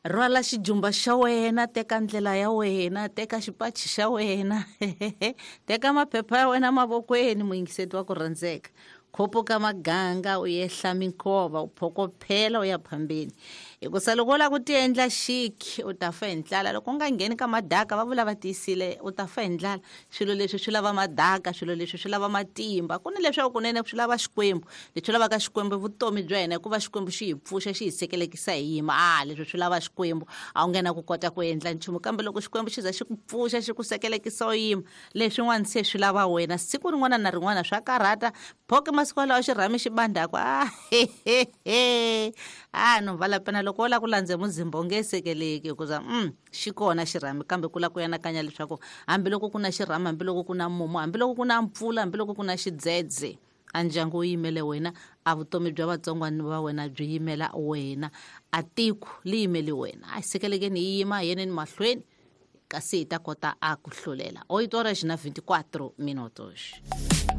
Rhwala xijumba xa wena, teka ndlela ya wena, teka xipachi xa wena, teka maphepha ya wena mavokweni, muyingiseti wa ku rhandzeka. Khupuka maganga u yehla minkova, u phokophela u ya phambeni. Hikusa loko u lava ku tiendla xiki u ta fa hi ndlala. Loko u nga ngheni ka madaka, va vula va tiyisile, u ta fa hi ndlala. Swilo leswi swi lava madaka, swilo leswi swi lava matimba. Ku ni leswaku kunene swi lava Xikwembu. Leswi lavaka Xikwembu i vutomi bya hina, hikuva Xikwembu xi hi pfuxa, xi hi sekelekisa hi yima. A leswi swi lava Xikwembu, a wu nge na ku kota ku endla nchumu. Kambe loko Xikwembu xi za xi ku pfuxa, xi ku sekelekisa u yima, leswin'wana se swi lava wena. Siku rin'wana na rin'wana swa karhata. Phoke masiku walawo xirhami xi bandhaku, a a no vala pena loko wo lava ku landze muzimba u nge sekeleki, hikuza xi kona xirhami, kambe ku lava ku anakanya leswaku hambiloko ku na xirhami, hambiloko ku na mumu, hambiloko ku na mpfula, hambiloko ku na xidzedze, a ndyangu wu yimele wena, a vutomi bya vatsongwana va wena byi yimela wena, a tiko li yimele wena. A hi sekelekeni hi yima, hi yeneni mahlweni, kasi hi ta kota a ku hlulela. 8 horas na 24 minutos.